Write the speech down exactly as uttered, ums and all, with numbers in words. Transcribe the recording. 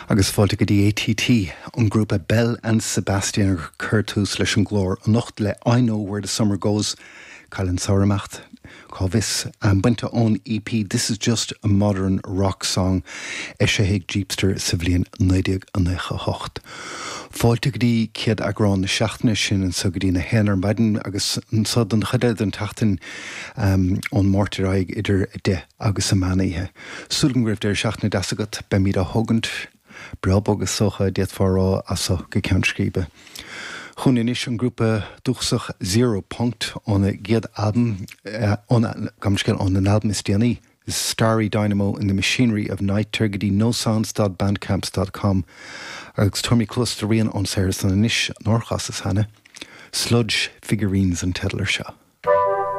Agus fáilte go dtí ATT an grúpa Belle and Sebastian chuir tús leis an gclár anocht le I know where the summer goes Cá bhfuil an samhradh ag imeacht cá bhfios an bainte ón EP This is just a modern rock song eisithe ag Jeepster sa bhliain naoi déag nócha a hocht. Fáilte go dtí céad eagrán na seachtaine sin anseo go dtí a haon ar maidin agus anseo don chuid eile den tseachtain um, ón Máirt ar aghaidh idir a deich agus an meán oíche. Súil go raibh deireadh seachtaine deas agat beimid á thógaint breá bog is dócha d'fhéadfá a rá as seo go Ceann Scríbe. Chugainn anois an grúpa dúchasach Zero Punkt óna gcéad albam gamscéal ón an albam is déanaí. Starry Dynamo in the Machinery of Night tar go dtí nosounds.bandcamps.com agus tugaimid cluas do rian ón saothar san anois nár chasas cheana. Sludge Figurines an teideal air seo.